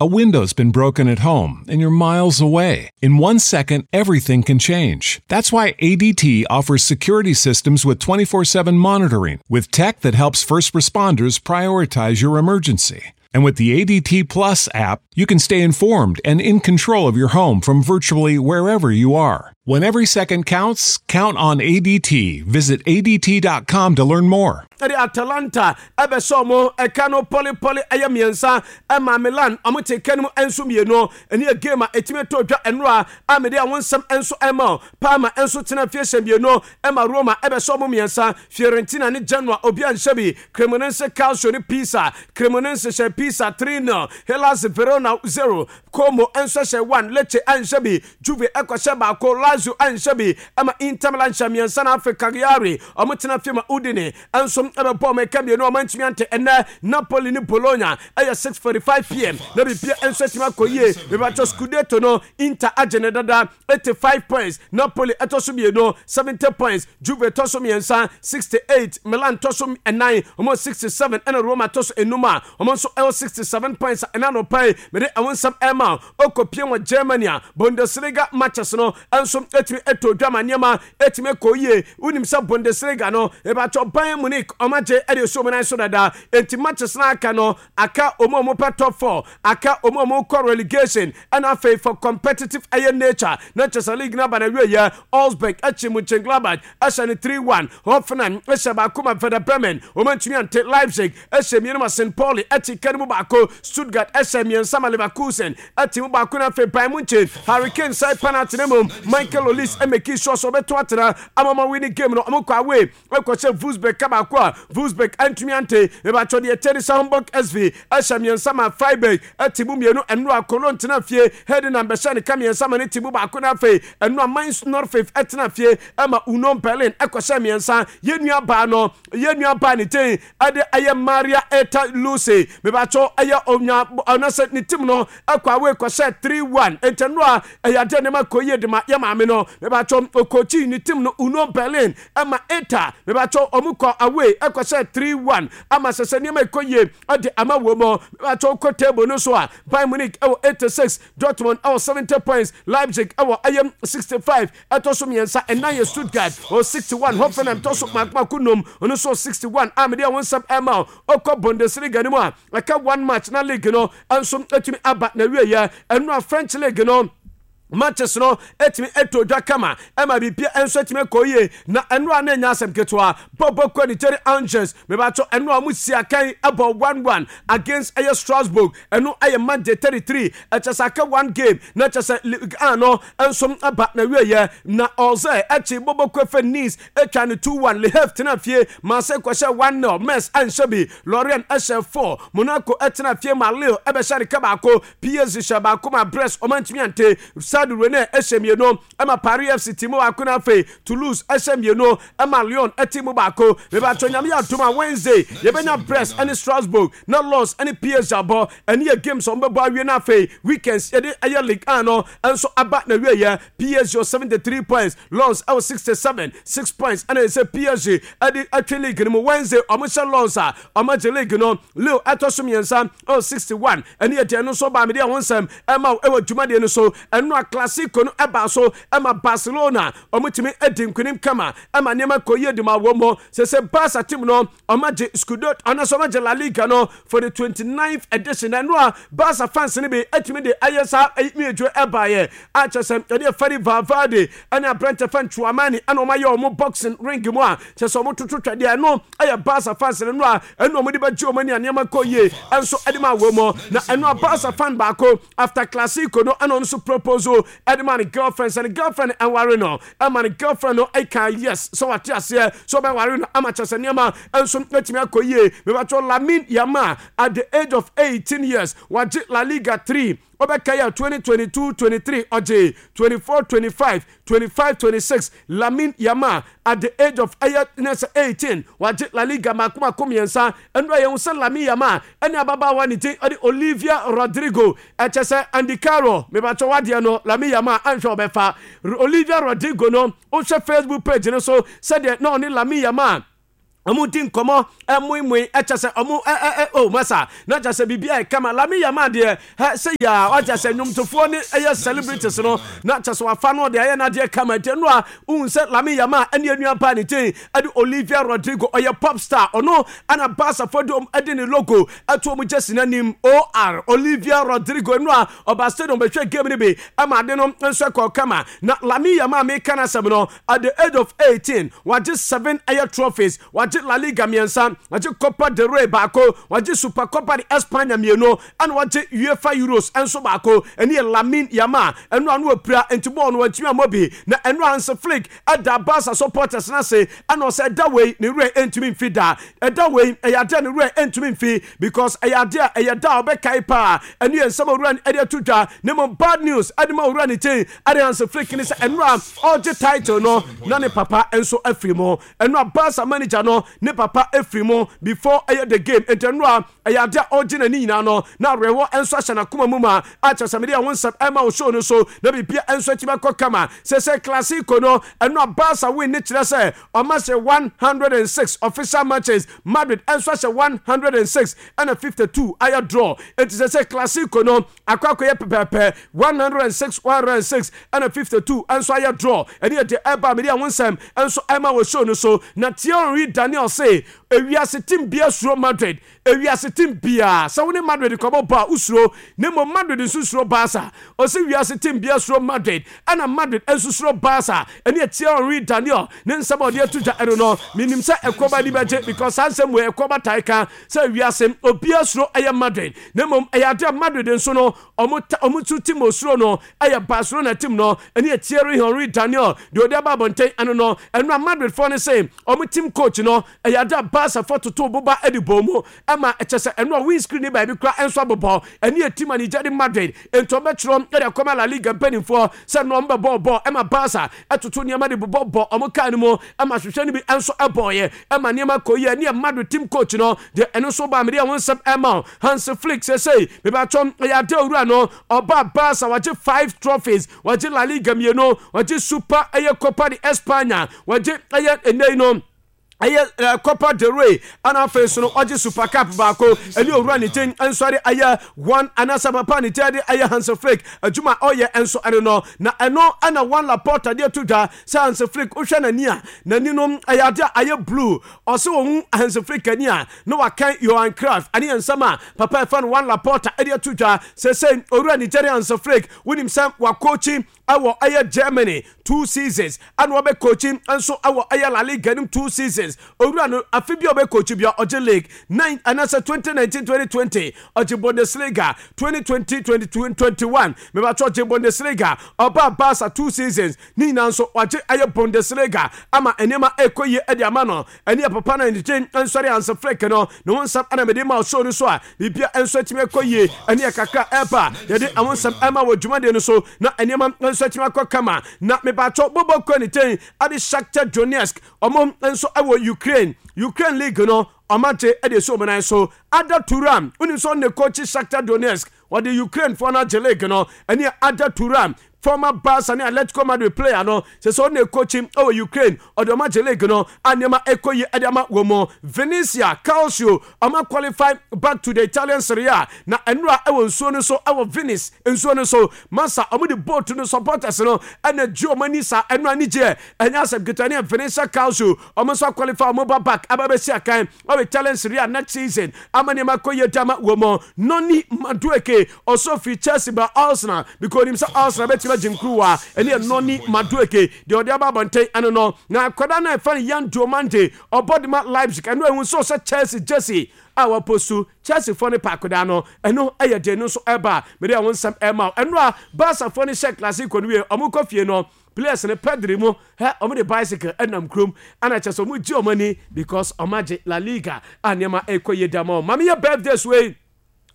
A window's been broken at home and you're miles away. In 1 second, everything can change. That's why ADT offers security systems with 24/7 monitoring, with tech that helps first responders prioritize your emergency. And with the ADT Plus app, you can stay informed and in control of your home from virtually wherever you are. When every second counts, count on ADT. Visit ADT.com to learn more. Ɛde Atalanta ɛbɛhyɛ ɔmo ɛka no pɔlepɔle, ɛyɛ mmiɛnsa ɛma Milan. Ɔmo te ka no mu nso mmienu. Ɛne yɛ game a ɛtumi tɔ dwa ɛnora a mede a wɔn nsɛm nso ɛma. Parma nso tena fie hyɛ mmienu ɛma Roma ɛbɛhyɛ ɔmo mmiɛnsa. Fiorentina ne Genoa, obi anhyɛ bi. Cremonese Calcio ne Pisa, Cremonese hyɛ Pisa 3-0. Hellas Verona 0, Como nso hyɛ 1. Lecce anhyɛ bi. Juve ɛkɔhyɛ baako, Lazio anhyɛ bi, ɛma Inter Milan hyɛ mmiɛnsa. Na afei Cagliari, ɔmo tena fie ma Udine nso ɛbɛbɔ ɔmo ɛka mmienu, ɔmo antumi ante. Ɛnɛ Napoli ne Bologna ɛyɛ 6:45 p.m. na bibia nso atumi akɔ yie. Mebatɔ Scudetto no, Inter agye ne dada, 85 points. Napoli ɛtɔ so mmienu, 70 points. Juve tɔ so mmiɛnsa, 68. Milan tɔ so ɛnan, ɔmo 67. Ɛna Roma tɔ so enum a ɔmo nso ɛwɔ 67 points. Ɛna no pɛn mede ɛho nsɛm ɛma ɔkɔpie wɔ Germany a Bundesliga matches no nso ɛtumi ɛtɔ dwa ma nneɛma ɛtumi kɔ yie. Wonim sɛ Bundesliga no ɛbɛtɔ Bayern Munich, ɔmo agye ɛde so ɔmo nan so dada, enti matches no aka no aka ɔmo a ɔmo pɛ top four, aka ɔmo a ɔmo kɔ relegation, ɛna afei for competitive ɛyɛ nature na kyerɛ sɛ league no aba na wie yɛ. Augsburg akyi Mönchengladbach ɛhyɛ no 3-1. Hoffenheim ɛhyɛ baako ma Werder Bremen, ɔmo antumi ante. Leipzig ɛhyɛ mmienu ma St Pauli, ɛte ka no mu baako. Stuttgart ɛhyɛ mmiɛnsa ma Leverkusen, ɛte mu baako. No afei Bayern Munchen, Harry Kane side penalty ne mu, Michael Olise ɛmake sure sɛ ɔbɛto atena ama ma winning game no. Ɔmo kɔ away ɛkɔhyɛ Wolfsburg ka baako a Wolfsburg antumi ante. Ɛbɛatɔ deɛ kyɛ ne sɛ Hamburg SV ɛhyɛ mmiɛnsa ma Freiburg, ɛte mu mmienu. Ɛno a Cologne tena fie, Heidenheim bɛhyɛ ne ka mmiɛnsa ma ne te mu baako. No afei ɛno a Mainz 05 ɛtena fie ɛma Union Berlin ɛkɔhyɛ mmiɛnsa. Yɛn nua baa no, yɛn nua baa ne ten ɛde ɛyɛ Maria Eta Luce, mebatɔ ɛyɛ onya ɔnasɛ ne team no ɛkɔ away kɔhyɛ 3-1. Ntɛno a ɛyɛ adeɛ nneɛma kɔ yie de ma yɛ maame no. Mebatɔ okokyi ne team no, Union Berlin, ɛma Eta mebatɔ ɔmo kɔ away ɛkɔhyɛ 3-1 ama sɛ sɛ nneɛma ɛkɔ yie ɛde ama wɔ mu. Mebatɔ kɔ table no so a, Bayern Munich ɛwɔ 86, Dortmund ɛwɔ 70 points, Leipzig ɛwɔ ɛyɛ 65 ɛtɔ so mmiɛnsa. Ɛnan yɛ Stuttgart ɔ 61, Hoffenheim tɔ so mako num, ɔno nso 61 a mede ɛho nsɛm ɛma ɔkɔ. Bundesliga no mu a, ɛka one match na league no nso atumi aba na wieɛ. Ɛno a French league no matches no etumi eto dwa kama ɛma bibia nso etumi kɔ yie. Na ɛno a na enya asɛm ketewa bɔbɔ kɔ ne kyɛre Angers, mebatɔ ɛno a mo si akan ɛbɔ 1-1 against ɛyɛ Strasbourg. Ɛno ɛyɛ match day 33. Ɛkyɛ sɛ aka one game na kyɛ sɛ Ligue 1 no nso aba na wieɛ. Na ɔsɛ ɛkyi bɔbɔ kɔ fɛ Nice atwa ne 2-1. Le Havre tena fie Marseille kɔhyɛ 1-0. Metz anhyɛ bi, Lorient ɛhyɛ 4. Monaco ɛtena fie ma Lille ɛbɛhyɛ ne ka baako. PSG hyɛ baako ma Brest, ɔma ntumi ante. Stade Rennais ɛhyɛ mmienu ɛma Paris FC ti mu baako. Na afei Toulouse ɛhyɛ mmienu ɛma Lyon ɛti mu baako. Mebatɔ Nyame yɛ adom a, Wednesday yɛbɛnya Brest ɛne Strasbourg na Lens ɛne PSG abɔ. Ɛne yɛ games a wɔbɛbɔ awie. Na afei weekends yɛde ɛyɛ Ligue 1 no nso aba na wieɛ. PSG wɔ 73 points, Lens ɛwɔ 67, 6 points ɛna ɛsɛ PSG ɛde atwe league no mu. Wednesday ɔmo hyɛ Lens a, ɔmo agye league no. Lille ɛtɔ so mmiɛnsa ɛwɔ 61. Ɛne yɛ deɛ no nso baa mede ɛho nsɛm ɛma wo ɛwɔ dwumadie no so. Ɛno a Classico no ɛbaa so ɛma Barcelona ɔmo tumi adi nkunim kama ɛma nneɛma kɔ yie de ma wɔ mu sɛ sɛ Barca team no ɔmo agye Scudetto ɔno nso ɔmo agye La Liga no for the 29th edition. Ɛno a Barca fans no bi atumi de ayɛ saa mmiedwo ɛbaeɛ a kyerɛ sɛ ɛne Fede Valverde ɛne aberante fan Tchouameni ɛna ɔmo ayɛ ɔmo boxing ring mu a kyerɛ sɛ ɔmo toto twɛdeɛ. Ɛno ɛyɛ Barca fans no a ɛno ɔmo de bɛgye ɔmo ani a nneɛma kɔ yie ɛnso ɛde ma wɔ mu. Na ɛno a Barca fan baako after Classico no ɛna ɔno nso propose ɛde ma ne girlfriend sɛ ne girlfriend ɛnware no, ɛma ne girlfriend no ɛka yes sɛ wate aseɛ sɛ ɔbɛware no ama kyerɛ sɛ nneɛma nso atumi akɔ yie. Mebatɔ Lamine Yamal, at the age of 18 years, wagye La Liga 3. Ɔbɛka yɛ 2022-23, ɔgye 24-25, 25-26. Lamine Yamal, at the age of ɛyɛ ne sɛ 18, wagye La Liga mako mako mmiɛnsa. Ɛno a yɛn sɛ Lamine Yamal ɛne ababaawa ne din ɔde Olivia Rodrigo. Ɛkyɛ sɛ Andy Carroll, mebatɔ wadeɛ no, Lamine Yamal anhwɛ ɔbɛfa Olivia Rodrigo no. Wohwɛ Facebook page no so sɛdeɛ na ɔne Lamine Yamal Ɔmo di nkɔmɔ ɛmoemoe ɛkyɛ sɛ ɔmo ɛ ɛ ɛ oh masa na kyɛ sɛ biribi ayɛ kama Lami Yamal deɛ hɛ sɛ yaa wakyɛ sɛ nnwomtofoɔ ne ɛyɛ celebrities no na kyɛ sɛ wafa no ɔde ayɛ n'adeɛ kama nti ɛno a wohu sɛ Lami Yamal ɛne anua baa ne din ɛde Olivia Rodrigo ɔyɛ pop star ɔno ɛna Barca foɔ de ɔmo ɛde ne logo ɛto ɔmo jersey n'anim OR Olivia Rodrigo ɛno a ɔba stadium bɛhwɛ game no bi ɛma ade no nso ɛkɔɔ kama na Lami Yamal meka n'asɛm no At the age of 18, wagye seven ɛyɛ trophies, wagye La Liga mmiɛnsa, wagye Copa del Rey baako, wagye Supercopa de España mmienu, ɛna wagye UEFA Euros nso baako. Ɛne yɛ Lamine Yamal. Ɛno a na wapira nti bɔɔl no wantumi ammɔ bi. Na ɛno a Hansi Flick da Barca supporters no ase ɛna ɔsɛ ɛda wei ne werɛ ntumi mfi da. Ɛda wei ɛyɛ adeɛ a ne werɛ ntumi mfi because ɛyɛ adeɛ a ɛyɛ da a ɔbɛkae paa. Ɛno yɛ nsɛm a owura no de ato dwa. Na mmom bad news ɛde ma owura ne din ɛde Hansi Flick ne sɛ ɛno a ɔregye title no na ne papa nso afiri mu. Ɛno a Barca manager no ne papa afiri mu before ɛyɛ the game. Nti ɛno a ɛyɛ ade a ɔregye n'ani nyinaa no na awerɛhoɔ nso ahyɛ n'akoma mu ma a kyerɛ sɛ mede ɛho nsɛm ɛma wo show no so na biribia nso atumi akɔ kama. Sɛsɛ Clasico no ɛno a Barca win ne kyerɛ sɛ ɔma hyɛ 106 official matches, Madrid nso ahyɛ 106 ɛna 52 ayɛ draw. Nti sɛsɛ Clasico no akɔ akɔyɛ pɛpɛɛpɛ 106 106 ɛna 52 nso ayɛ draw. Ɛne yɛ deɛ ɛba mede ɛho nsɛm nso ɛma wɔ show no so. Na Thierry Daniel se ewiase team bia suro Madrid, ewiase team bia sɛ wo ne Madrid kɔbɔ bɔ a wosuro, na mmom Madrid nso suro Barca. Ɔse wiase team bia suro Madrid ɛna Madrid nso suro Barca. Ɛne yɛ Thierry Daniel ne nsɛm a ɔde ato dwa ɛno no. Menim sɛ ɛkɔba ani bɛgye because saa nsɛm wei ɛkɔba tae ka sɛ wiase obiara suro ɛyɛ Madrid, na mmom ɛyɛ ade a Madrid nso no ɔmo ta ɔmo nso team osuro no ɛyɛ Barcelona team no. Ɛne yɛ Thierry Henry Daniel deɛ ɔde aba abɔnten ɛno no. Ɛno a Madrid foɔ no se ɔmo team coach no ɛyɛ ade a Barca foɔ totoo boba ɛde bɔɔ mu ɛma ɛkyɛ sɛ ɛno a windscreen ne baabi koraa ɛnso abobɔ. Ɛne yɛ team a ne gya de Madrid nti ɔbɛtwerɛ ɛde akɔma La Liga mpanimfoɔ sɛ no ɔmo bɛbɔɔ bɔɔl ɛma Barca ɛtoto nneɛma de bobɔ bɔ ɔmo kaa no mu ɛma hwehwɛ no bi ɛnso ɛbɔɔyɛ ɛma nneɛma kɔ yie. Ɛne yɛ Madrid team coach no deɛ ɛno nso baa mede ɛho nsɛm ɛma wo. Hansi Flick sesei mebatɔ ɛyɛ ade owura no ɔbaa Barca wagye five trophies, wagye La Liga mmienu, wagye Super ɛyɛ Copa de España, wagye ɛyɛ ɛnɛ yi no ɛyɛ Copa del Rey ɛna afei nso no ɔgye Super Cup baako. Ɛne owura ne din nso de ɛyɛ Juan anaasɛ papa ne din de ɛyɛ Hansi Flick adwuma a ɔyɛ nso ɛno no. Na ɛno ɛna Juan Laporta de ato dwa sɛ Hansi Flick wohwɛ n'ani a n'ani no ɛyɛ ade a ayɛ blue. Ɔse ɔhu Hansi Flick ani a na wakan Johan Cruyff. Ɛne yɛ nsɛm a papa ɛfa no Juan Laporta de ato dwa. Sɛsɛi owura Nigerian Hansi Flick wonim sɛ wakɔkyi ɛwɔ ɛyɛ Germany 2 seasons ɛna ɔbɛ coachi nso ɛwɔ ɛyɛ La Liga nim 2 seasons. Owura no afe bi a ɔbɛ coachi bia ɔgye league 9 anaasɛ 2019-2020 ɔgye Bundesliga, 2020-2021 mebatɔ ɔgye Bundesliga. Ɔba Barca 2 seasons ne nyinaa nso wagye ɛyɛ Bundesliga ama nneɛma ɛkɔ yie ɛde ama no. Ɛne yɛ papa no anigye nsɔre Hansi Flick no ne ho nsɛm ɛna mede ma show no so a biribia nso atumi akɔ yie. Ɛne yɛ kakra ɛba yɛde ɛho nsɛm ɛma wɔ dwumadie no so na nneɛma nso atumi akɔ kama. Na mebaatɔ bɔbɔ kɔ ne ten ade Shakhtar Donetsk ɔmo nso ɛwɔ Ukraine, Ukraine league no ɔmo agye ɛde esi ɔmo nan so. Arda Turan wonim sɛ ɔne coach Shakhtar Donetsk wɔde Ukraine foɔ no agye league no. Ɛne Arda Turan former Barca ne Atletico Madrid player no sɛ sɛ ɔne coach ɛwɔ Ukraine ɔde ɔmo agye league no a nneɛma ɛkɔ yie ɛde ama wɔ mu. Venezia Calcio ɔmo qualify back to the Italian Serie A na ɛnura ɛwɔ nsuo no so ɛwɔ Venice nsuo no so masa ɔmo de boat no supporters no ɛna gye ɔmo ani saa ɛnura ani gyeɛ ɛnyɛ asɛm ketewa. Ne Venezia Calcio ɔmo nso qualify ɔmo ba back aba bɛsi akan ɔwɔ Italian Serie A next season ama nneɛma kɔ yie de ama wɔ mu. Noni Madueke ɔsɔ fi Chelsea ba Arsenal because onim sɛ Arsenal bɛtumi agye nkuruwa. Ɛne yɛ Noni Madueke deɛ ɔde aba abɔnten ɛno no. Na akwadaa no a ɛfa no Yan Diomande ɔbɔ de ma Leipzig ɛno ehu nso sɛ Chelsea jersey a wɔpostu Chelsea foɔ no pa akwadaa no ɛno ɛyɛ deɛ no nso ɛba mede ɛho nsɛm ɛma ɛno a Barca foɔ no hyɛ Clasico no wie ɔmo kɔ fie no players no Pedri mu hɛ ɔmo de bicycle ɛnam kurom ɛna kyɛ sɛ ɔmo gye ɔmo ani because ɔmo agye La Liga a nneɛma ɛkɔ yie da ma ɔmo. Maame yɛ birthdays wei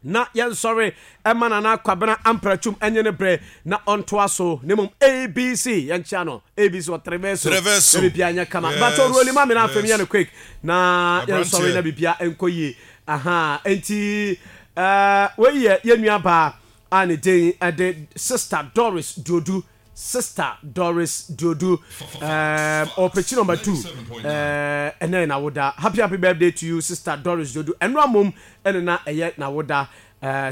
na yɛnsɔre ɛma Nana Kwabena Ampratum ɛnye ne brɛ na ɔntoa so ne mmom ABC yɛnkyea no ABC wɔ Treveso na bibia nyɛ kama. Yes, Bato Ruoli ma me na afei meyɛ no quick na yɛnsɔre na bibia ɛnkɔ yie. Aha enti wei yɛ yɛn nua baa a ne din ɛde Sister Doris Duodu. Sister Doris Duodu um, ɔpɛkyi number 2 ɛnɛ yɛ n'awoda. Happy happy birthday to you, Sister Doris Duodu. Ɛno amom ɛne na ɛyɛ n'awoda.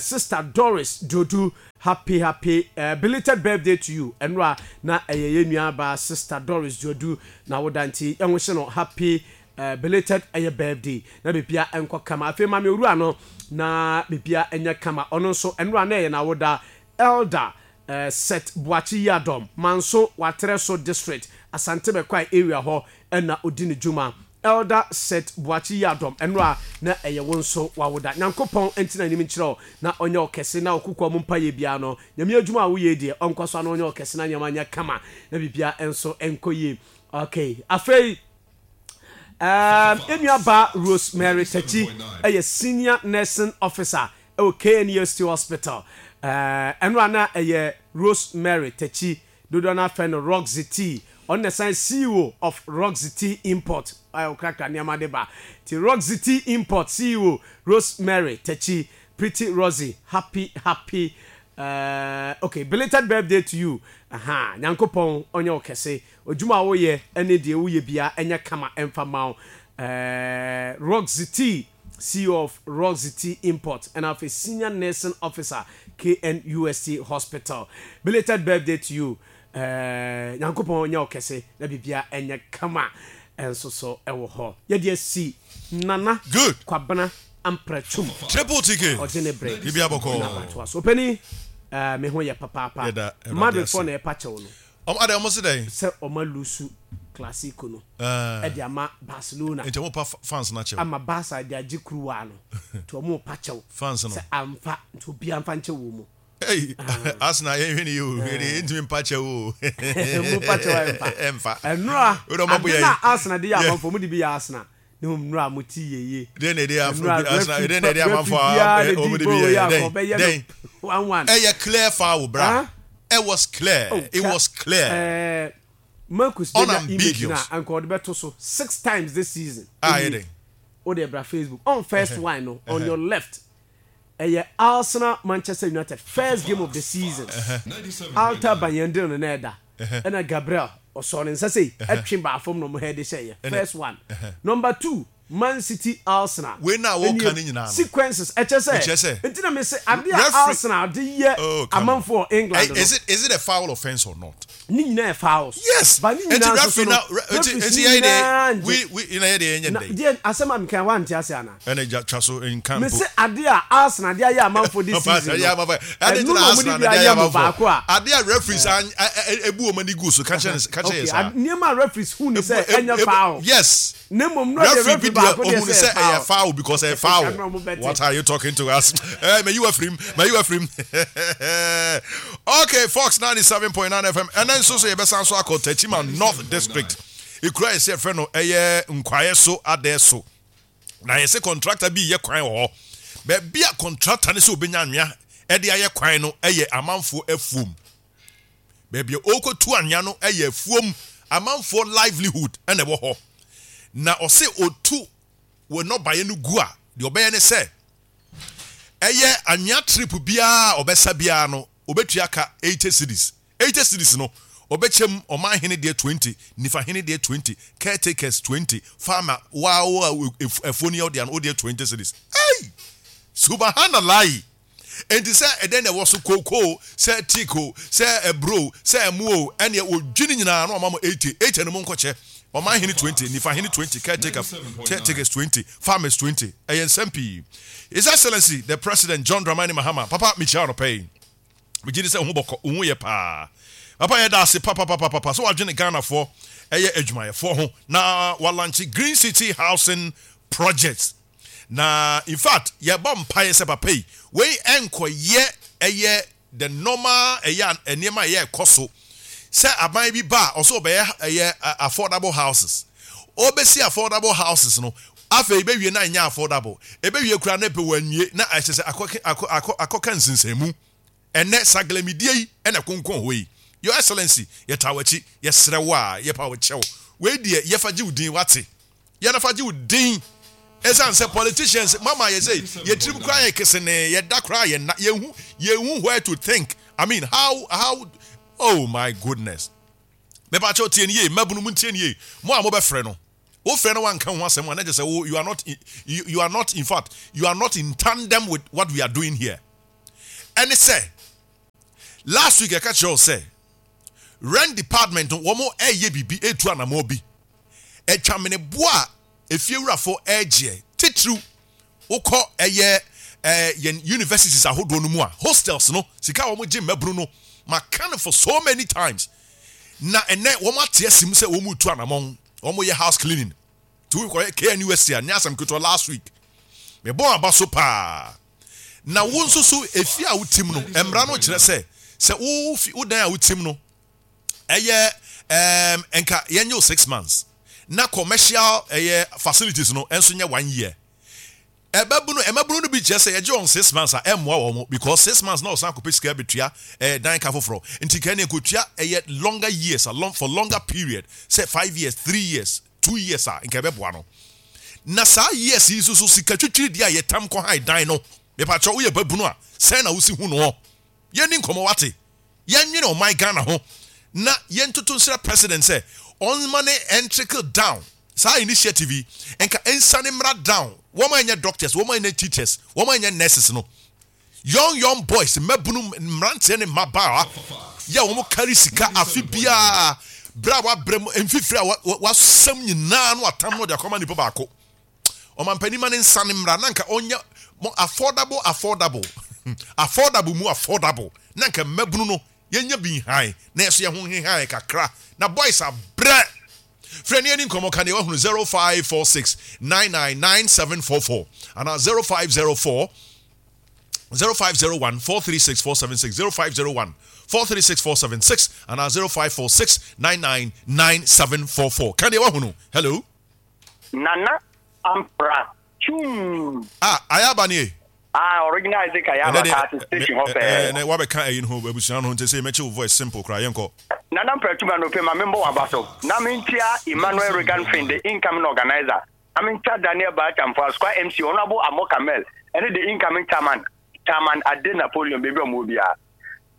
Sister Doris Duodu, happy happy belated birthday to you. Ɛno a na ɛyɛ yɛn nua baa Sister Doris Duodu n'awoda nti yɛn ho hyɛ no happy belated ɛyɛ birthday na bibia ɛnkɔ kama. Afei maame owura no na bibia ɛnyɛ kama, ɔno nso ɛno a na ɛyɛ n'awoda. Elder Seth Boakye Yiadom, Manso Waterɛso District, Asante Bɛkwae area hɔ na ɔdi ne dwuma. Elder Seth Boakye Yiadom, ɛnora na ɛyɛ wo nso w'awoda. Nyankopɔn ntena anim nkyerɛ wo na ɔnyɛ wo kɛse na ɔkokoa mu mpaeɛ biara no, Nyame adwuma a woyɛ yi deɛ ɔnkɔ so ana ɔnyɛ wo kɛse na nneɛma nyɛ kama na biribiara nso nkɔ yie. Okay, afei um, yɛn nua baa Rosemary Takyi yɛ Senior Nursing Officer wɔ KNUST Hospital. Ɛno a na ɛyɛ Rosemary Takyi, dodoɔ no ara frɛ no Roxy Tea. Ɔno na ɛsan CEO of Roxy Tea Import a ɔkrakra nneɛma de ba. Nti Roxy Tea Import CEO Rosemary Takyi, Pretty Roxy, happy happy uh, okay, belated birthday to you. Aha, Nyankopɔn ɔnyɛ wo kɛse. Odwuma a woyɛ ne deɛ woyɛ biara ɛnyɛ kama ɛmfa mma wo. Eh, Roxy Tea. CEO of Roxy Tea Import ɛna afei Senior Nursing Officer KNUST Hospital. Belated birthday to you. Eh, Nyankopɔn nyɛ wo kɛse na biribiara ɛnyɛ kama ɛnso so ɛwɔ hɔ. Yɛde asi Nana Good. Kwabena Amprɛtwum. Triple TK. Ɔgye ne bere Biribiara bɔkɔɔ. na watoa so. Ɔpanin, eh, me ho yɛ papaapa. Yɛda Awurade Madrid ase. foɔ na ɛpa kyɛw no. Ɔmo adɛn ɔmo se dɛn? Sɛ ɔmo alusu Clasico no de ama Barcelona. Nti ɔmo pa fans no akyɛw. Ama Barca de agye kuruwa no nti ɔmo pa kyɛw. Fans no. Sɛ amfa nti obiara nfa nkyɛ wɔn mu. Ei Arsenal yɛn hwɛ ne yie o yɛde yɛn ntumi mpa kyɛw o. Mo pa kyɛw a ɛnfa. Ɛnfa. Ɛnora Wode ɔmo abo ade yɛn. na Arsenal de yɛ amanfoɔ ɔmo de bi yɛ Arsenal ne ho nnora mo ti yɛ yie. Deɛ na ɛde Nnora Arsenal referee deɛ na ɛde referee amanfoɔ biara a na ɔmo di de bi ball yɛ yɛ dɛn akɔ ɔbɛyɛ dɛn. no 1-1. Ɛyɛ clear foul bra. Huh? It was clear. Oh, It ka was clear. ɛɛ Marcus benya image na Unambiguous. anka ɔde bɛto so six times this season. Ah, Ɛnie yɛ dɛn? wo deɛ bra Facebook on first one no on your left ɛyɛ Arsenal Manchester United first game of the season. Alta Bayindir no na ɛda ɛna Gabriel ɔsɔɔ ne nsa sei ɛtwe baa fam na ɔmo head hyɛeɛ first one. Number two, Man City Arsenal Wei no a woka ɛnie no nyinaa no, sequences ɛkyɛ sɛ mekyerɛ sɛ nti na mese adeɛ a referee Arsenal de yɛ oh come on amanfoɔ wɔ England Ɛ no is it is it a foul offence or not? ne nyinaa yɛ fouls Yes! but ne Nti nyinaa nso referee so no na re nti referees nti no yɛyɛ deɛ nyinaa ngye we we na yɛ deɛ yɛnyɛ na no dɛn? deɛ asɛm a meka wante ase anaa? Ɛna gya twa so nka mpo. Mese adeɛ a Arsenal de ayɛ amanfoɔ this season no ɛno na wɔde bi ayɛ mo baako a. Adeɛ a referees ebu wɔn ani gu so ka kyerɛ ka kyerɛ yɛ saa. Nneɛma a referees hu ni sɛ ɛnyɛ foul. Yes. Ne mmom no deɛ referee baako deɛ sɛ ɛyɛ foul because ɛyɛ foul. What are you talking to us? Eh, may you afrim, may you afrim. Okay, Fox 97.9 FM. Ɛnɛ nso so yɛbɛsan so akɔ Techiman North District. Ekura yɛ sɛ yɛfrɛ no ɛyɛ nkwaeɛ so adɛ so. Na yɛsɛ kɔntrakta bi reyɛ kwan wɔ hɔ. Baabi a kɔntrakta no sɛ obenya anwea de ayɛ kwan no yɛ amanfoɔ afuom. Baabi a ɔrekɔtu anwea no yɛ afuom. Amanfoɔ livelihood na ɛwɔ hɔ. Na ɔse ɔtu wɔ nnɔbaeɛ no gu a, deɛ ɔbɛyɛ ne sɛ, ɛyɛ anwea trip biara a ɔbɛsa biara no, ɔbɛtua ka 80 cedis. 80 cedis no, ɔbɛkyɛ mu, ɔman hene deɛ 20, nifa hene deɛ 20, caretakers 20, farmer, waa wo a afuo no yɛ wo dea no, wo deɛ 20 cedis. Ei! Subahanalai! Enti sɛ ɛdɛn na ɛwɔ so, kooko o, sɛ teak o, sɛ aburo o, sɛ ɛmo o, ɛneɛ wɔdwi ne nyinaa na wɔama mo 80, 80 no monkɔkyɛ, ɔman hene 20, nifa hene 20, caretaker, caretakers 20, farmers 20. Ɛyɛ nsɛm pii. His Excellency, the President John Dramani Mahama, papa mekyia wo anɔpa yi. Megye di sɛ wo ho bɔkɔ, wo ho yɛ paa. Papa yɛda ase papapapapa sɛ wadwene Ghanafoɔ ɛyɛ adwumayɛfoɔ ho na walankye Green City Housing Project. Na in fact yɛbɔ mpaeɛ sɛ papa yi wei ɛnkɔyɛ ɛyɛ the normal ɛyɛ nneɛma ɛyɛ ɛkɔ so sɛ aban bi ba a ɔsɛ ɔbɛyɛ ɛyɛ affordable houses. Ɔbɛsi affordable houses no afei bɛwie na ɛnyɛ affordable. Ɛbɛwie koraa na ɛpɛ wɔanwie na ɛhyɛ sɛ akɔ akɔ akɔ akɔka nsensanmu. Ɛnnɛ saglamidie yi na ɛkonkɔn hɔ yi. Your Excellency, yɛtaa w'akyi, yɛsrɛ wo a, yɛpa wo kyɛw. Wei deɛ yɛfa gye wo din, wate? Yɛn fa gye wo din. Ɛsiane sɛ politicians mama yɛ sɛ yɛ tirim koraa yɛ kesenee, yɛda koraa yɛnna, yɛnhu yɛnhu where to think. I mean how how. Oh my goodness. Mepakyɛw tie no yie, mmabunu montie no yie. Mo a mobɛfrɛ no, wofrɛ no wanka ho asɛm a na kyerɛ sɛ wo you are not you, you are not in fact you are not in tandem with what we are doing here. Ɛne sɛ last week ɛka kyerɛ wo sɛ rent department no wɔn ɛyɛ biribi etu anamɔ bi atwameneboɔ a efiewurafo ɛregyeɛ titiriw Wokɔ ɛyɛ eh, yɛn universities ahodoɔ no mu a, hostels no, sika a wɔgye mmabunu no, maka no for so many times. Na ɛnɛ wɔn ate asim sɛ wɔn retu anamɔn, wɔn yɛ house cleaning. Nti wokɔyɛ KNUST a, nyɛ asɛm ketewa last week. Mebɔ aba so paa. Na wo nso so, efie a wotim no, mmara no kyerɛ sɛ, sɛ wo fi, wo dan a wotim no, ɛyɛ ɛɛm nka yɛnyɛ o 6 months na commercial ɛyɛ facilities no nso nyɛ one year. Ɛbɛbunu ɛmabunu no bi kyerɛ sɛ yɛgye wɔn 6 months a ɛmmoa wɔn because 6 months na ɔsan akɔpɛ sika bɛtua dan ka foforɔ nti nka ɛne nkotua ɛyɛ longer years a long for longer period sɛ 5 years, 3 years, 2 years a nka ɛbɛboa no. Na saa years yi nso so sika twitwiri deɛ a yɛtam kɔ han dan no mepakyɛ woyɛ babunu a sɛn na wosi hu noɔ. Yɛnni nkɔmmɔ wate. Yɛnwene ɔman Ghana ho na yɛntoto nsrɛ president sɛ ɔnma ne ɛntrickle down saa initiative yi nka ɛnsane mmra down wɔn a ɛnyɛ doctors, wɔn a ɛnyɛ teachers, wɔn a ɛnyɛ nurses no young young boys mmabunu mmeranteɛ ne mmabaawa yɛ wɔn kari sika afe biara berɛ a wabrɛ mu mfifiri a wasɛm nyinaa no atam no de akɔma nipa baako. Ɔmampanin ma ne nsa no mmra na nka ɔnyɛ mo affordable affordable affordable mu affordable na nka mmabunu no yɛnya bi nhan na yɛso yɛn ho nhehan kakra na boys abrɛ. Frɛ ne yɛni nkɔmmɔ ka deɛ wahunu 0546 999744 anaa 0504 0501 436 476 0501 436 476 anaa 0546 999744 ka deɛ wahunu. Hello. Nana Ampra Twum. Ah, Ayaba nie. Ah, original Isaac Ayaba kaa te station hɔ pɛɛ. Ɛnɛ wabɛka ɛyi no ho abusua no ho nti sɛ mɛkye wo voice simple koraa yɛnkɔ. Nana Ampra Twum anɔpɛ ma membɔ w'aba so na menkyia Emmanuel Regan Finn the incoming organizer na menkyia Daniel Baakyamfo Asukwa MC Honourable Amoh Kamel ɛne the incoming chairman Chairman Ade Napoleon baabi a ɔmo wɔ biara.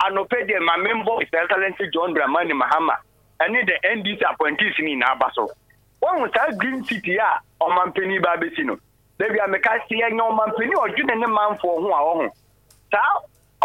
Anɔpɛ deɛ ma membɔ His Excellency John Dramani Mahama ɛne the NDC appointees no nyinaa aba so. Woahu saa Green City a ɔmanpanin ba abɛsi no? Baabi a meka sɛ yɛnya ɔmanpanin a ɔdwene ne manfoɔ ho a ɔho. Saa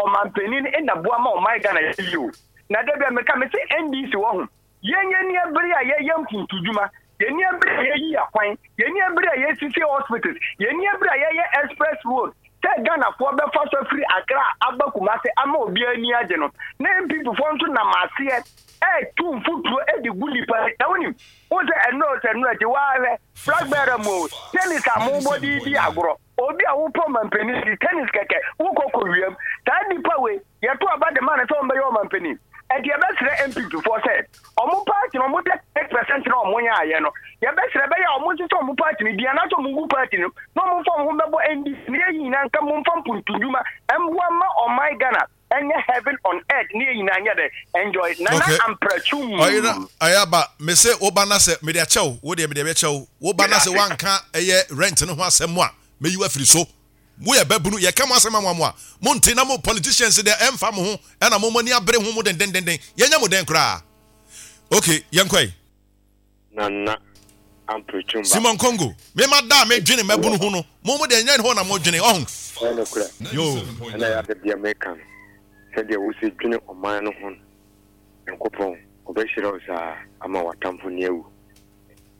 ɔmanpanin no na boa ma ɔman Ghana yɛ yie o. Na da bi a meka mese NDC wɔ ho. Yɛn yɛn ni abere a yɛyɛ mpuntudwuma, yɛn ni abere a yɛyi akwan, yɛn ni abere a yɛsisi hospitals, yɛn ni abere a yɛyɛ express road sɛ Ghanafoɔ bɛfa so afiri Accra aba Kumasi ama obiara ani agye no. Na NPP foɔ nso nam aseɛ ɛretu mfuturo de gu nipa. Na wonim, Wohu sɛ ɛnnora o sɛ nnora akyi, waa hwɛ, flag bearer mu o, tennis a mobɔ de redi agorɔ, obi a wopɛ ɔmampanin di tennis kɛkɛ, wokɔ kɔwiam. Saa nipa wei, yɛto aba de ma no sɛ ɔmbɛyɛ ɔmampanin. Ɛnti yɛbɛsrɛ NPP foɔ sɛ, ɔmo party no, ɔmo deɛ 8% na ɔmo nyaayɛ no, yɛbɛsrɛ ɛbɛyɛ a ɔmo nsesa ɔmo party no din anaasɛ ɔmo ngu party no na ɔmo mfa ɔmo ho mbɛbɔ NDC na yɛn nyinaa nka mmom mfa mpuntudwuma mmoa mma ɔman Ghana. Ɛnyɛ heaven on earth ne yɛn nyinaa nyɛ dɛ enjoy Nana Okay. Ampratu. Ɔyera ayaba me se wo ba na sɛ mede akyɛ wo wo deɛ mede bɛkyɛ wo wo ba na sɛ wanka ɛyɛ rent no ho asɛm a mɛyi wo afiri so mo yɛ babunu yɛka mo asɛm ama mo a mo nte na mo politicians deɛ ɛmfa mo ho ɛna mo mo ani abere ho mo dendendenden yɛnyɛ mo dɛn koraa okay yɛnkɔ yi. Nana Ampretum ba. Simon Congo, me ma da a me dwene mmabunu ho no, mo mo deɛ nyɛ hɔ na mo dwene, ɔho. Ɛyɛ nokorɛ. Yoo. Ɛna ɛyɛ ade deɛ meka no, sɛdeɛ wosi dwene ɔman no ho no, Nyankopɔn ɔbɛhyira wo saa ama w'atamfo ni awu.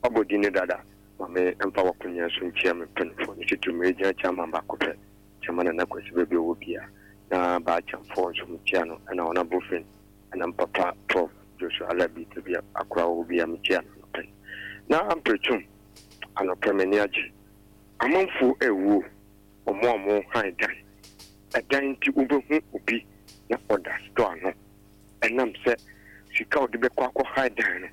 Wabɔ din no dada, ma me mfa w'akonya so nkyia me mpaninfoɔ no titiriw me regional chairman baako pɛ, Chairman Nana Kwasi baabi a ɔwɔ biara, na Baa Kyamfoɔ nso mekyia no, ɛna Honourable Finn. Ɛna me papa Prof Joshua Alabi baabi a akora wɔ biara mekyia no anɔpa yi. Na amperekyum anɔpa m'ani agye. Amanfoɔ ɛwuo, wɔn a wɔn han dan. Ɛdan nti wobɛhu obi na ɔda store ano. Ɛnam sɛ sika a ɔde bɛkɔ akɔ han dan no,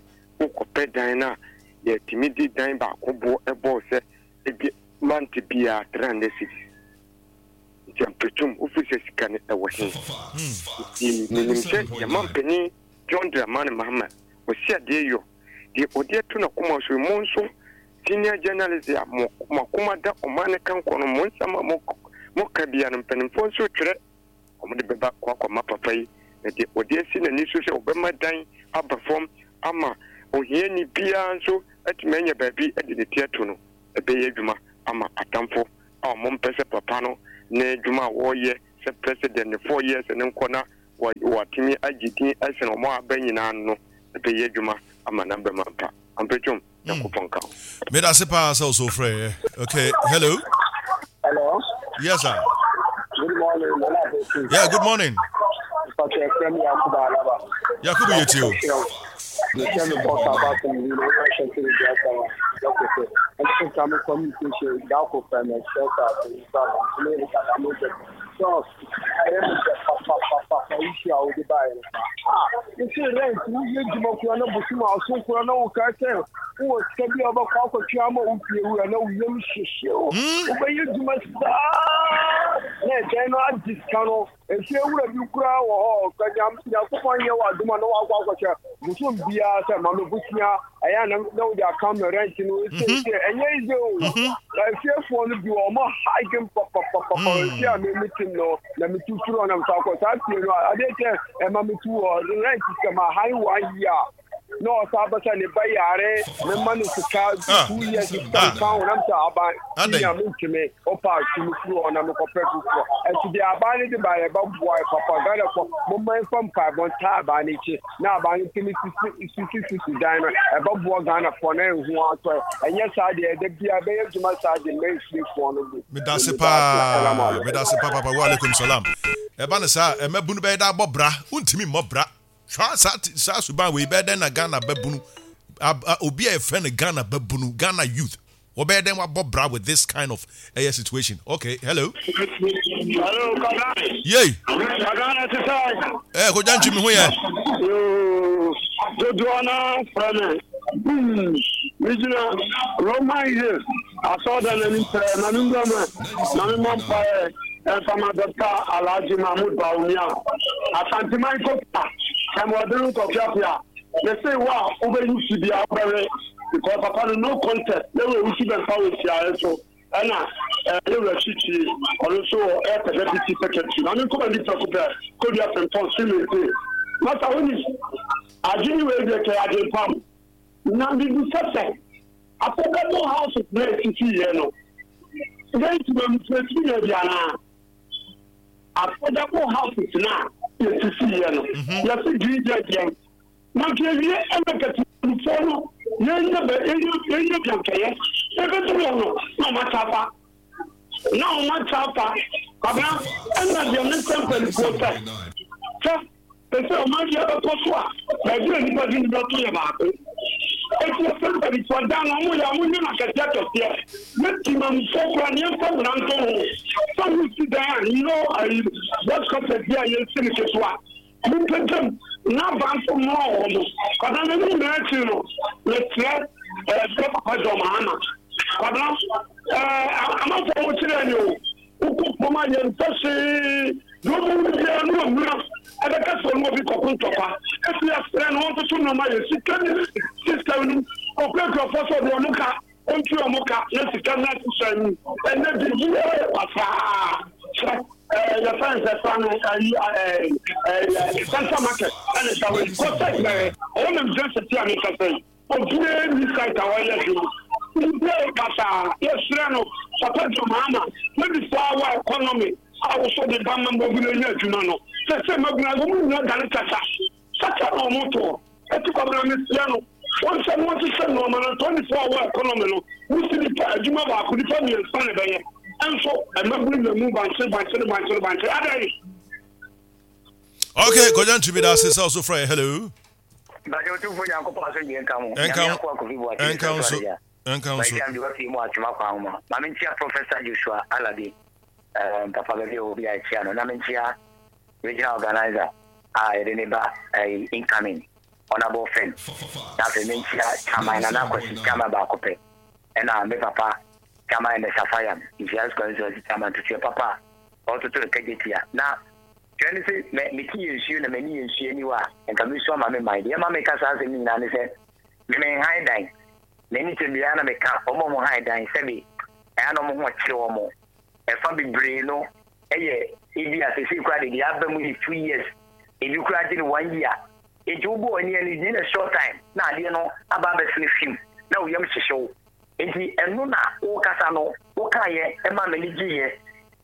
wokɔpɛ dan no a yɛtumi de dan baako boɔ ɛbɔɔ sɛ ebi month biara 300 cedis. Nti amperetum, wofiri sɛ sika no ɛwɔ he? Nti menim sɛ yɛn mampanin John Dramani Mahama, ɔsi adeɛ yɔ, deɛ ɔde ato n'akoma so yi, mo nso senior journalist a mo mo akoma da ɔman no kankɔ no, mo nsɛm a mo moka biara no, mpanimfoɔ nso twerɛ, wɔde bɛba kɔ akɔma papa yi. Na deɛ ɔde asi n'ani so sɛ ɔbɛma dan aba fam ama ohiani biara nso atumi anya baabi de ne ti ato no, ɛbɛyɛ adwuma ama atamfo a wɔmpɛ sɛ papa no ne dwuma a wɔreyɛ sɛ president ne 4 years no nkɔ na wɔatumi agye din asene wɔn a aba nyinaa no, ɛbɛyɛ adwuma ama n'aba mu ampa. Ampatwom, Nyankopɔn nka wo. Meda ase paa sɛ wo so wofrɛ. Okay, hello. Hello. Yes, sir. Good morning, Nana Abeku. Yeah, good morning. Mpakyɛ frɛ me Yakubu Alaba. Yakubu yɛ tie o. Mehyɛ me bɔs aba sɛ me na ɔnyɛ hyɛ sɛ ebi asa wa dɔkɔ sɛ ɛnso nka me communication daako fɛ me hyɛ sɛ ase nsa ba ne dada mo sɛ so ɛyɛ me sɛ papapapa issue a wode baeɛ no ah nti rent woyɛ adwuma kura na bosom a ɔso kura na woka sɛ wowɔ sika bi a wobɛkɔ akɔtwe ama wo fie wura na woyam hyehye wo wobɛyɛ adwuma saa na ɛdɛn no agye sika no. Efie wura bi koraa wɔ hɔ ka Nyankopɔn nyɛ wɔ adom a na wakɔ akɔhyɛ bosom biara sɛ ma me bosea ɛyɛ na na wode aka me rent no sɛ ɛnyɛ easy o. Na efiefoɔ no bi wɔ ɔmo hiding papapapa efie a me me tim no na me tu firi hɔ na me san kɔ saa fie no adeɛ kyɛ ɛma me tu hɔ rent sika ma han one year na ɔsan bɛ sɛ ne ba yare mema no sika 2 years sika nka ho nam sɛ aban nya mentumi ɔpa tumi firi hɔ na mekɔpɛ foforɔ. Ɛnti deɛ aban no de ba yɛ bɛboa yɛ papa. Ghana fɔ momma yɛmfa mpaebɔ ntaa aban no akyi na aban no tumi sisi sisi dan no, ɛbɛboa Ghana fɔ na ɛho atɔ. Ɛnyɛ saa deɛ ɛda bia ɛbɛyɛ adwuma saa de ma efiefoɔ no bi. Medase paa, medase paa papa. Wa alaikum salam. Ɛba no saa ɛmɛbunu bɛyɛ dɛ abɔ bra, wontumi mmɔ bra. Hwɛ saa suban wei bɛyɛ dɛn na Ghana babunu, obi a yɛfrɛ no Ghana babunu, Ghana youth, wɔbɛyɛ dɛn wabɔ bra with this kind of ɛyɛ situation? Okay, hello. Hello, Kwabena. Yei. Kwabena te sɛ. Kogya Ntwi, me ho yɛ. Yoo, dodoɔ no frɛ me. Megyina Roman Hill asɔɔdan anim pɛɛ ma me nwura mu na me mmɔ mpaeɛ ɛmfa ma Dɔkta Alhaji Mahmood Bawumia. Asanteman Kofa, Tɛmɔden Nkɔpiapia. Mese wo a wobɛyi si bia wobɛwe because papa no no contest na wɔ wusu bɛmfa wɔ siaeɛ so ɛna ɛyɛ wura kyikyie ɔno nso wɔ ɛpɛ deputy secretary na me nkɔma ni prɛko pɛ Kodua Frimpong Swimming masa woni adwene wei deɛ kɛ adwempam na mebisa sɛ affordable houses na esisi yɛ no yɛn ntoma mu yɛ bi anaa? Affordable houses na yɛsisi yɛ no yɛsi green deɛ deɛ na nka ewie ɛna nkatimufoɔ no yɛnyɛ bɛ yɛnyɛ bi ankɛyɛ ebeduru hɔ no na ɔmo akyɛ afa na ɔmo akyɛ afa. Kwabena, ɛna deɛ ne nsɛm mpanimfoɔ sɛ ɛsɛ ɔman bi ɛbɛkɔ so a baabi a nipa de nipa to yɛ baako. Eti ɛsɛ mpanimfoɔ dan na ɔmo yɛ ɔmo nyɛ no akɛseɛ akɛseɛ ne timamufoɔ kora ne yɛmfa mmara nto ho sɛ wosi dan a no ayi box carpet bi a yɛsi no ketewa mompɛgyam na aba nso mmoa wɔ mo. Kwabena, ne nyinaa akyiri no mesrɛ ɛɛ papa John Mahama. Kwabena, ɛɛ amanfoɔ mo kyerɛ ne o wokɔ kurom a yɛmpɛ hwee deɛ ɔbɛwu no biara ne ɔmuna ɛbɛka sɛ ɔne obi kɔko ntɔkwa. Ɛfi asrɛ no ɔntoto nneɛma yɛ sika ne system no ɔkurakurafoɔ sɛ ɔde ɔmo ka ɔntua ɔmo ka na sika no ahyehyɛ mu. Ɛnɛ biribiara yɛ basaa. Hwɛ ɛɛ yɛfrɛ no sɛ fa no ayi ɛɛ ɛɛ central market ɛna ɛda hɔ yi kɔ sɛ ɛɛ ɔwɔ nam gyina sɛ ti a ne nkasa yi obiara ni site a ɔyɛ adwuma biribiara yɛ basaa. Yɛsrɛ no papa John Mahama 24 hour economy a wosɔ de ba ma mmabunu anya adwuma no sɛ mmabunu a wɔn nyinaa dane kasa sasa na wɔn toɔ eti Kwabena mesrɛ no wɔn sɛ wɔn hyehyɛ nneɛma no 24 hour economy no wosi nipa adwuma baako nipa 3 na ɛbɛyɛ nso mmabunu na mu bankye bankye bankye bankye adan. Okay, Kogya Ntwi, meda ase sɛ wo so frɛ. Hello. Bàjẹ́ otumfo Nyankopɔn asomdwe nka mo. Ɛnka Nyame wo akoa Kofi Boakye ɛnka wo ne so Sɛso ɛnka wo so. Bàjẹ́ amdi wafie mu atwema kwan ho ma. Ma menkyia Professor Joshua Alabi, papa baabi a ɔwɔ bi a ɛkyia no. Na menkyia regional organizer a yɛde ne ba incoming honorable friend. Na afei menkyia Chairman Nana Akwasi, Chairman baako pɛ. Ɛna me papa Chairman Ernest Afayam, Nhyira Constituency Chairman tutuɛ papa a ɔtoto no kagye tia. Na kyerɛ ne sɛ mɛ mete yɛ nsuo na m'ani yɛ nsuo aniwa a nka mesu ama me man. Deɛ ɛma meka saa asɛm no nyinaa ne sɛ me menhan dan m'ani kyɛ biara na meka wɔn a wɔhan dan sɛbe ɛa na wɔn ho ɔkyere wɔn ɛfa bebree no ɛyɛ ebi a sɛsei koraa de deɛ aba mu yɛ 2 years. Ebi koraa gye no one year. Enti wobɔ w'ani a no in a short time na adeɛ no aba abɛsene fim na wo yam hyehye wo. Enti ɛno na wokasa no wokaeɛ ɛma m'ani gyeeɛ.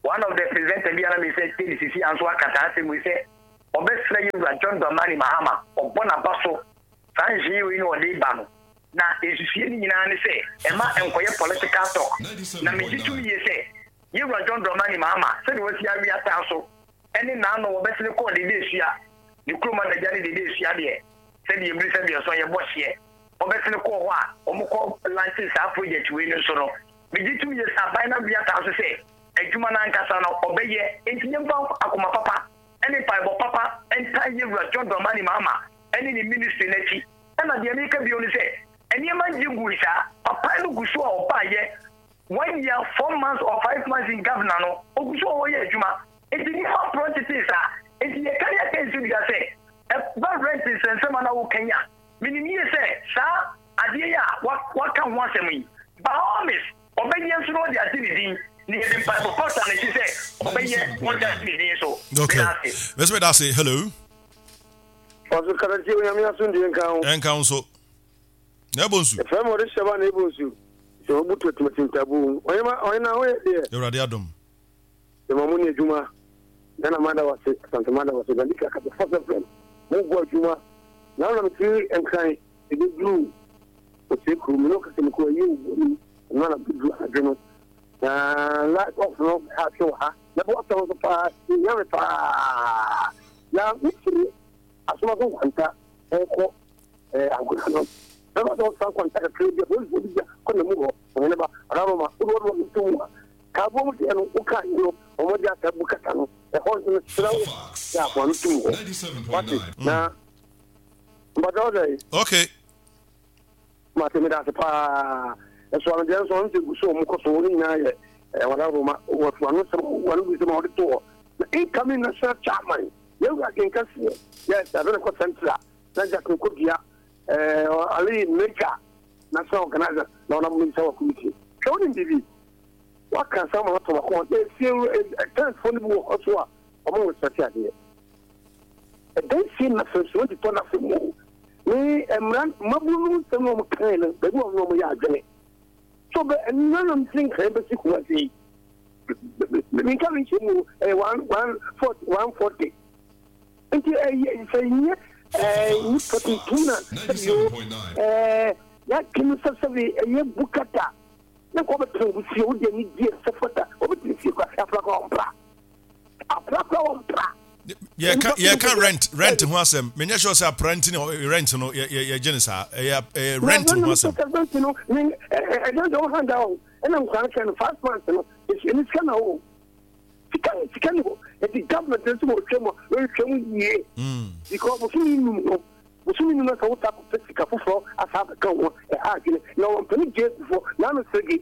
One of the presenter bi a na mesɛ tie no sisi a nso aka saa asɛm wei sɛ ɔbɛsrɛ yɛn wura John Dramani Mahama ɔbɔ n'aba so saa nhyehyɛeɛ wei na ɔde ba no. Na nsusuiɛ no nyinaa ne sɛ ɛma ɛnkɔyɛ political talk. Na megye tom yie sɛ yɛn wura John Dramani Mahama sɛdeɛ wasi awe ataa so ne n'ano wɔbɛsene kɔɔ Dede Asua, ne kurom adagya ne Dede Asua deɛ, sɛdeɛ ɛbiri sɛ deɛ ɛsɔ yɛbɔ hyeɛ, wɔbɛsene kɔɔ hɔ a wɔkɔ lankyee saa project wei no nso no, megye tom yie sɛ aban no awe ataa so sɛ adwuma no ankasa no ɔbɛyɛ, enti yɛmfa akoma papa ne mpaebɔ papa ntaa Yɛwura John Dramani Mahama ne ne ministry no akyi. Ɛna deɛ meka bio ne sɛ, nneɛma ngye ngui saa, papa no gu so a ɔbaeɛ one year, 4 months or 5 months in governor no, ogu so a ɔyɛ adwuma. Enti nneɛma mporɔ ntetee saa. Enti yɛka yɛka nsi dua sɛ, ɛba rent nsɛnsɛm a na woka yi a, menim yie sɛ saa adeɛ yi a waka ho asɛm yi, by all means, ɔbɛyɛ nso na ɔde agye ne din. Na yɛde mpaebɔ pa taa n'akyi sɛ ɔbɛyɛ na ɔde agye ne din nso. Okay. Meda ase. Mɛsɛ meda ase. Hello. Ɔso katakyie Onyame asomdwie nka wo. Ɛnka wo nso. Na ɛbɔ nsu. Ɛfrɛ ma ɔde hyɛ ba na ɛbɔ nsu. Sɛ ɔbu tuatumati ntabu. Ɔyɛma ɔyɛ na ɔyɛ deɛ. Awurade adom. Yɛma mo ne adwuma. Ghana mada wase, Asante mada wase, Bandika kasa fasa frɛm. Mo bɔ adwuma. Na na metiri nkran ɛbɛduru ɔsɛ kuro mu na ɔkasa mu kɔ ɛyɛ obu mu. Ɛno na bɛduru anadwo no. Na light off no ha atwe wɔ ha. Na bɔ asɛm nso paa, ɛhia me paa. Na mefiri asomaso nkwanta ɛkɔ agona no. Bɛba sɛ ɔsan kwanta kakra bi a polisifoɔ bi gya kɔ na mu hɔ. Ɔhene ba, ɔdaroma, wode wɔde wɔn to mu a, kaaboɔ mu deɛ no, wokaa yi no, wɔn de asa bu kata no, ɛhɔ nso no, serɛ wo sɛ afoa no tum hɔ. Wate, na mpatɛ wo sɛ? Okay. Mate, meda ase paa. Ɛso ano deɛ nso, ɔno sɛ gu so wɔn kɔ so, wɔn nyinaa yɛ wɔdaroma, wɔto ano sɛm, wɔn gu sɛm a wɔde to hɔ. Na incoming national chairman, yɛwura kenkaseɛ, yes, abɛn kɔ central, na Jack Nkodua, Ali Major, National organizer na ɔnam mmisa wɔ committee. Hwɛ wonim biribi? Waka asɛm ama atɔ m'akoma. Na efie tenant foɔ no bi wɔ hɔ so a wɔn respect adeɛ. Ɛdan sie na fɛ so wɔn tɔ na fɛ mu. Ne mmara mmabunu no nsɛm na wɔn kan no baabi wɔn na wɔn yɛ adwene. So bɛ ɛnna na mfiri nkran bɛsi Kumasi yi. Minka mi nhyɛ mu ɛyɛ 1 1 40 140. Nti ɛyɛ sɛ nyɛ ɛɛ nipa tuntum na sɛbi o ɛɛ yɛatwe sɛ sɛbi ɛyɛ bukata ne kɔ bɛtena obi fie wode ani die sɛ fata wɔbɛtena fie kora apra kora wɔmpra apra kora wɔmpra. Yɛka yɛka rent ho asɛm, menyɛ sure sɛ apra nti na rent no yɛgye no saa. Ɛyɛ ɛyɛ rent ho asɛm. Rent no ne ɛdan deɛ wɔn handa o ɛna nkora no kɛ no 5 months no ɛni sika na o sika ne sika ne hɔ nti government nso wɔ twɛ mu a wɔhwɛ mu yie because bosomi num no bosomi num na sɛ wota kɔpɛ sika foforɔ asa abɛka ho ɛha adwene na wɔn mpɛne gye kufoɔ na ano sege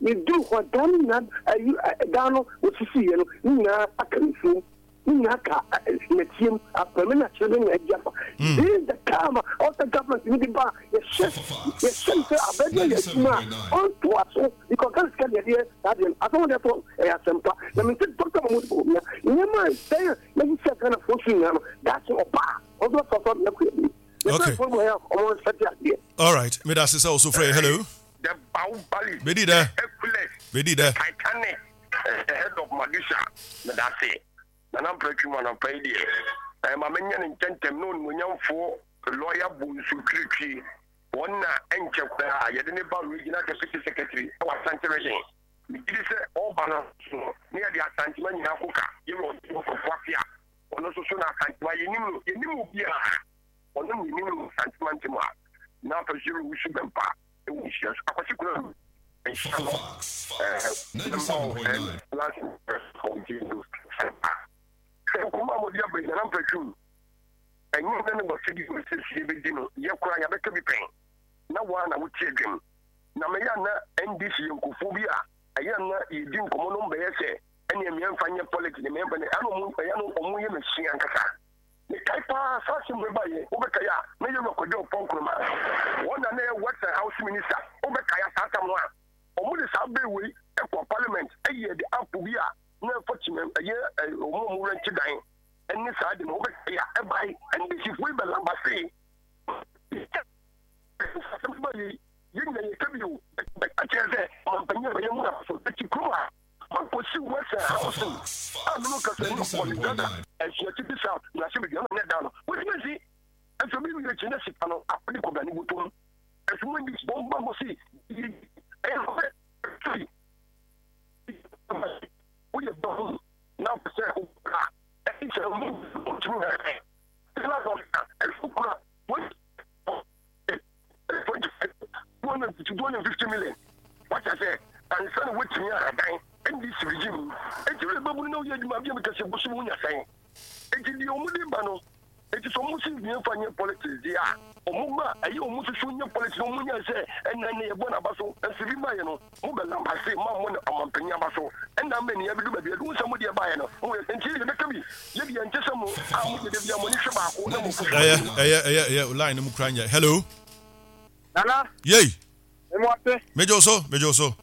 ne duru hɔ dan no nyinaa ayi dan no wɔsisi yɛ no ne nyinaa aka nsuom ne nyinaa ka nɛteɛ apɛmɛ na kyerɛ ne nyinaa agya fa. This is the time a ɔsɛ government ni bi ba yɛhyɛ yɛhyɛ no sɛ abɛdeɛ yɛ adwuma a ɔntoa so because Ghana sika deɛ deɛ saa deɛ no asɛm deɛ to ɛyɛ asɛmpa na mente Dr. Mahmoud Bawumia nneɛma a ɛsɛn a yɛhyehyɛ Ghanafoɔ so nyinaa no daakye ɔba a ɔnso bɛfa so abɛyɛ kɔ yɛ Okay. All right. Me da sisa also frɛ. Hello. The Bahubali. Bedi dɛ. Hercules. Bedi dɛ. Titanic. The head of Medusa. Me da se. Nana Mpratwi mu anɔpa yi deɛ, ɛɛ ma menyɛ no ntɛntɛm na onimuonyamfoɔ lɔya Bonsu Twiritwi, wɔn na ɛnkyɛ koraa yɛde ne ba Regional Deputy Secretary wɔ Asante Region. Megye di sɛ ɔreba no nso no, na yɛde Asantema nyinaa koka Yɛwura Ɔsɔfo Kwaku Appiah, ɔno nso so na Asantema yɛnim no, yɛnim obiara, ɔno na yɛnim no wɔ Asantema ntam a, na afei nso Yɛwura Owusu Bɛmpa wɔ nhyia so. Akwasi Konadu nhyia no ɛɛ mma wo ɛɛ last sɛ nkɔmɔ a wɔde aba nyana mpatwum ɛnyɛ nna ne wɔsɛ bi wɔ sɛsie bɛdi no yɛ koraa yɛabɛka bi pɛn na woa na wote adwam na mɛyɛ na NDC yɛ nkurɔfoɔ bi a ɛyɛ na yɛdi nkɔmmɔ no mbɛyɛ sɛ ɛneɛ mmeɛmfa nyɛ politics mmeɛmfa nyɛ ɛna ɔmo ɛyɛ no ɔmo yɛ machine ankasa. Mekae paa saa asɛm wei baeɛ, wobɛkae a na Yewura Kwadwo Oppong Nkrumah, wɔn na na ɛyɛ Works and Housing Minister, wobɛkae a saa tam no a wɔn de saa bill wei kɔɔ parliament yɛɛ de app bi a na ɛfa kyima ɛyɛ wɔn a wɔn rɛnte dan. Ɛne saa de no wobɛkae a ɛbae NDC foɔ yi bɛ lambasee asɛm ba yei yɛn nyina yɛka bi o bɛka kyerɛ sɛ ɔmampanyin a bɛyɛ mu na so ɛti kurom a makɔsi western housing a mene kasa ne ɔkɔle dada asuakyi bi south mmarahyɛ badwa na ne da no wotumi si ɛnso bi wie akyi na sika no akɔde kɔda ne bɔtɔm ɛnso mo ndi bɔmba mo si ɛyɛ sɛ woyɛ bɔm na wopɛ sɛ wobra ɛne sɛ wotumi hwɛ ɛna ɛfo kura 250 million wata sɛ ansa na wotumi ahaban ndc regime eti wura bɛbunu na woyɛ adwuma bi a meka sɛ bosom wonya sɛn eti deɛ wɔn de ba no Enti sɛ ɔmo se yɛn fa nyɛ politics deɛ a, ɔmo ba a, ɛyɛ ɔmo soso nyɛ politics na ɔmo nyae sɛ ɛnna ɛnna yɛbɔ n'aba so nso bi baeɛ no, mo bɛ lambase mo ammɔ no ɔmanpanin aba so ɛnna ama ani abɛdu baabi adu. Wohu sɛ mo deɛ baeɛ no, mo yɛ nti yɛbɛka bi, yɛ deɛ ɛnte sɛ mo a mo deɛ da biara mo ani hwɛ baako na mo fo so Ɛyɛ anim. ɛyɛ ɛyɛ ɛyɛ line no mu kura nyɛ. Hello. Nana. Yei. Memo ase. Megye wo so, megye wo so.